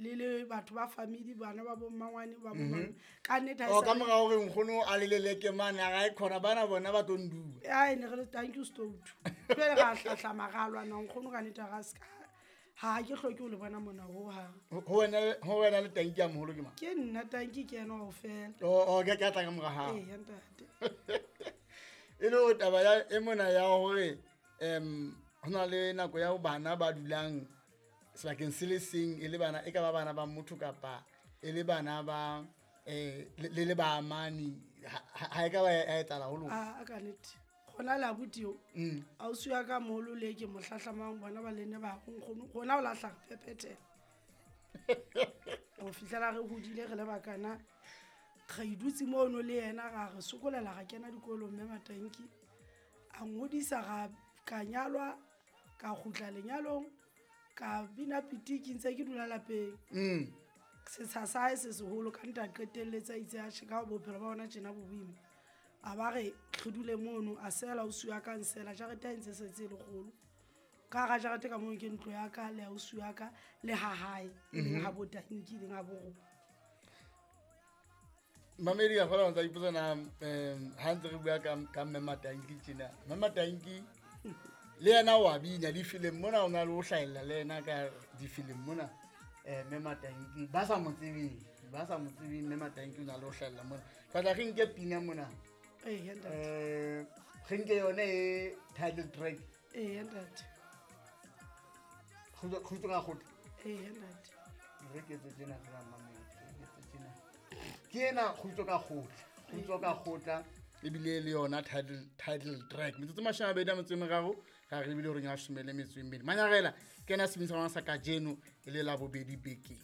Le le batho ba family, bana ba bo mmangwane ba bo malome. Ka nnete ha e O ka sa- mora hore nkgono a leleleke mane a ra e khona bana bona ba tlo nduwa. Ai, ne re le thank you stout. Jwale ra hlahlama, ra lwana nkgono ka nnete, ga ska ha ke hloke ho le bona mona hohang. Ho wena le tanki ya moholo ke mang? Ke nna tanki, ke ena kaofela. O ke tla ka mora hao. Ee, ntate. E le hore taba ya e mona ya hore ho na le nako ya ho bana ba dulang sebakeng se le seng, e le bana, e ka ba bana ba motho kapa e le bana ba le ba amani, ha e ka ba ya etsahala ho lona? A ka nnete gona le abuti eo, ausi wa ka moholo le ke mo hlahlamang, bona ba lene ba nkgono rona o lahla re phephetela go fihlela re hodile re le bakana, re idutse mono le yena, ra re sokolela, ra kena dikolong, mme Matanki a ngodisa, ra ka nyalwa, ka kgutla lenyalong, ka bina pitiki ntse ke dula lapeng. Setsha sa hae se seholo ka nta qetelletse a itse atjhe, ka bophelo ba ona tjena bo boima, a ba re re dule mono, a sela ausi wa ka, nsela jarete ha e ntse setse e le kgolo. Ka hara jarete ka mono ke ntlo ya ka le ausi wa ka le ha hae, e leng ha bo tanki, e leng ha bo rona. Mamedi ka kgona ho ntsa ipotsa na, ha ntse re bua ka mme Matanki tjena. Mme Matanki le yena wa bina difilm mona, o na le ho hlahella le yena ka difilm mona. Mme Matanki ba sa mo tsebeng, ba sa mo tsebeng, mme Matanki o na le ho hlahella mona. Tla re nke pina mona. Ee, ntate. Re nke yone e title track. Ee, ntate. Kgutlo ka kgutlo. Ee, ntate. Re ketse tjena fela, mamedi, re ketse tjena. Ke ena kgutlo ka kgutla, kgutlo ka kgutla, ebile le yona title track. Metsotso 23 ra re ebile hore ya 12. Manyarela ke ena sebini sa rona sa kajeno e le Labobedi bekeng.